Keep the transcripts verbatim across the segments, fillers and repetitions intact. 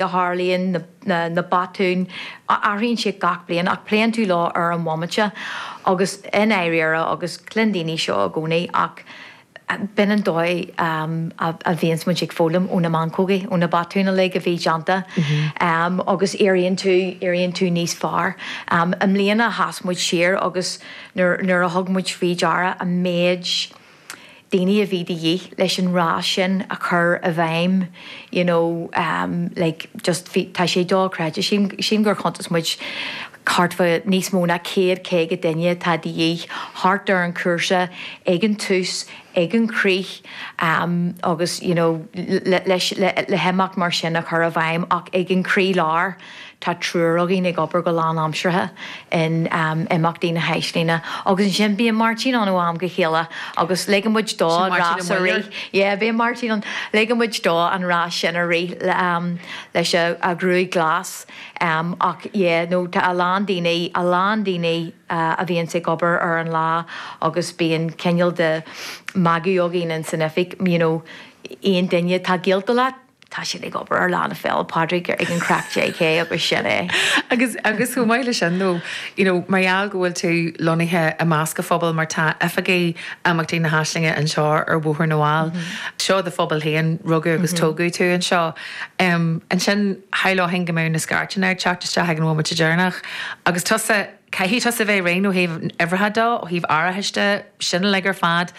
a tharlaíonn na, na, na botúin athraíonn sé gach bliain ach pléann tú leo ar an bhomaite agus i ndáiríre agus cluin daoine seo i gcónaí ach b'in an dóigh um, a, a bhíonns muid ag foghlaim ó na meancógaí ó na botúin uilig a bhí déanta mm -hmm. um, agus éiríonn tú éiríonn tú níos fearr. Um, I mbliana sheas muid siar agus nuair a thug muid faoi deara an méid daoine a bhí de dhíth leis an rás sin a chur i bhfeidhm you know, um, like just tá sé dochreidte sílim gur chuntas muid thart fá níos mó ná céad caoga duine atá de dhíth thart ar an cúrsa ag an tús ag an críoch um, agus you know, le, leis le, le himeacht mar sin a chur i bhfeidhm ach ag an croílár tá triúr againn ag obair go lánaimseartha in um, imeachtaí na hAislinge agus ansin bíonn Martin ann ó am go chéile agus ligeann muid dó an rás a rith. Yeah, bíonn Martin ann ligeann muid dó an rás sin a rith um, leis a, a ghruaig glas um, ach yeah, no, tá a lán daoine a lán daoine uh, a bhíonn ag obair ar an lá agus bíonn cineál de magadh againn in san oifig you know, aon duine tá gaolta leat tá siad ag obair ar Lá Fhéile Pádraig ag an Craic JK agus sin é. Agus agus chomh maith le sin nó you know, mar gheall go bhfuil tú lonnaithe i measc an phobail mar tá oifigí Imeachtaí na hAislinge anseo ar Bhóthar na bhFál. Mm -hmm. Seo do phobal féin rugadh agus mm -hmm. tógadh tú anseo. Um, ansin shamhlóinn go mbeadh na scairteanna ag teacht isteach ag an bhomaite deireanach agus tusa caithfidh tusa bheith réidh ó thaobh uimhreacha de ó thaobh árachais de sin uilig ar fad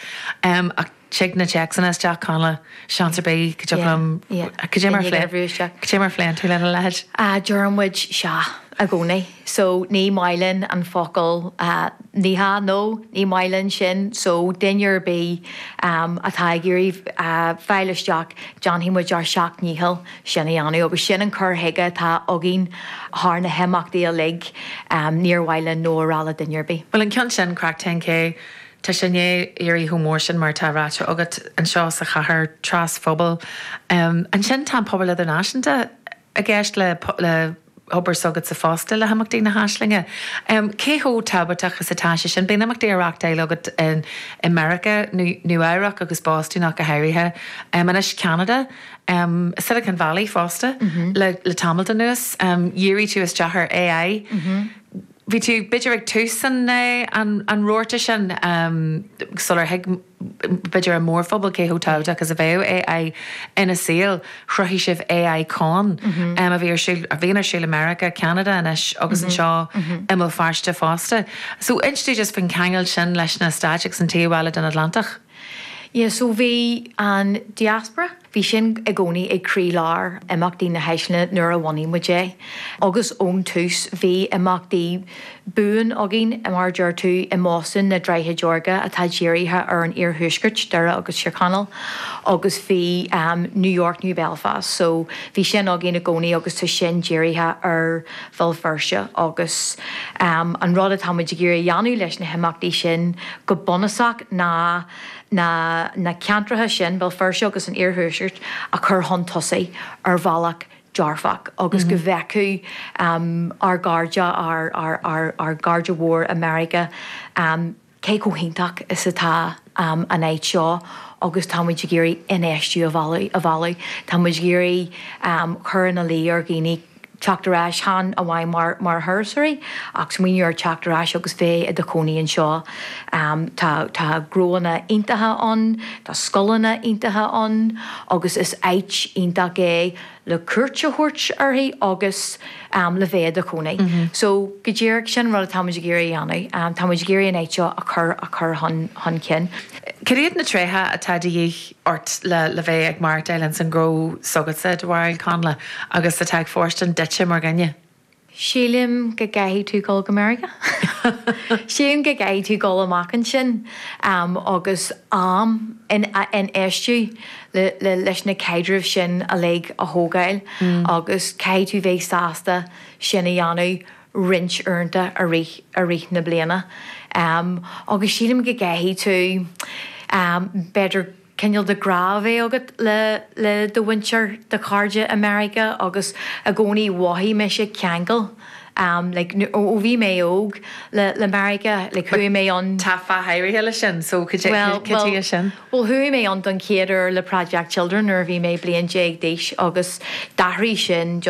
um, ach tig na téacsanna isteach Connla seans ar bith go dtig mar Cad é mar a phléann tú lena leithéid? Deir muid sea i gcónaí. So ní maith linn an focal uh, ní hea nó ní maith linn sin, so duine ar bith um, atá ag iarraidh uh, fáil isteach déanfaidh muid ár seacht ndícheall sin a dhéanamh agus sin an cur chuige atá againn thar na himeachtaí uilig um, níor mhaith linn no a rá le duine ar bith. Well an ceann sin Craic ten K Tá sé éirithe chomh mór sin mar tá ráite agat anseo sa chathair tras-phobal. Um, ansin tá pobal idirnáisiúnta i gceist le le hobair s'agatsa fosta le himeachtaí na hAislinge. Um, cé chomh tábhachtach is atá sé sin bíonn imeachtaí á reáchtáil agat in America Nua-Eabhrac agus Boston ach go háirithe um, anois Canada, um, Silicon Valley fosta mm -hmm. le, le tamall anuas um, dhírigh tú isteach ar AI. Mm -hmm. Bhí tú b'fhéidir ag tús an, an, an rabharta sin um, sular thuig b'fhéidir an mórphobal cé chomh tábhachtach is a bheadh AI ina saol chruthaigh sibh AI Con mm -hmm. um, a bhí a bhíonn ar siúl America, Canada anois agus mm -hmm. anseo mm -hmm. i mBéal Feirste fosta. So inis just faoin cheangal sin leis na Stáit agus an taobh eile den Atlantach. Yeah, so bhí an diaspora Bhí sin i gcónaí ag croílár imeachtaí na hAislinge nuair a bhunaigh muid é. Agus ón tús bhí imeachtaí buan againn mar deir tú i mBoston na Droichid Órga atá dírithe ar an iarthuaisceart Doire agus Tír Chonaill agus bhí um, New York New Belfast, so bhí sin againn i gcónaí agus tá sin dírithe ar Bhéal Feirste agus um, an rud atá muid ag iarraidh a dhéanamh leis na himeachtaí sin go bunúsach ná na, na ceantracha sin Béal Feirste agus an iarthuaisceart a chur chun tosaigh ar bhealach dearfach agus mm -hmm. go bhfeicfeadh um, ár gcairde ár, ár, ár, ár gcairde mhór America um, cé chomh hiontach is atá um, an áit seo agus tá muid ag iarraidh infheistiú a mhealladh a mhealladh Tá muid ag iarraidh um, chur ina luí ar dhaoine teacht ar ais chan amháin mar mar thurasóirí ach smaoineamh ar teacht ar ais agus bheith i do chónaí anseo. Um, tá tá gnóanna iontacha ann, tá scoileanna iontacha ann, agus is áit iontach é le cuairt a thabhairt uirthi agus um, le bheith i do chónaí. Mm -hmm. So go díreach sin rud tá muid ag iarraidh a dhéanamh, um, tá muid ag iarraidh an áit seo a chur a chur chun chun cinn. Cad iad na tréithe atá de dhíth ort le le bheith ag maireachtáil san ghnó s'agatsa do bharúil Connla agus atá ag fóirstean duitse mar dhuine. Sílim go gcaithfidh tú dul go Meiriceá. Sílim go gcaithfidh tú dul amach ansin um, agus am in, infheistiú le, le, leis na caidrimh sin uilig a thógáil mm. agus caithfidh tú bheith sásta sin a dhéanamh roinnt uaireanta i rith i rith na bliana. Um, agus sílim go gcaithfidh tú um, b'fhéidir cineál de grá a bheith agat le le do mhuintir do chairde America agus i gcónaí mhothaigh mise ceangal Um, like, ó bhí mé óg le, le Meiriceá like, chuaigh mé ann Tá fáth áirithe leis sin so well, well, sin. Well chuaigh mé ann don chéad uair le Project Children nuair bhí mé bliain déag d'aois agus d'athraigh sin just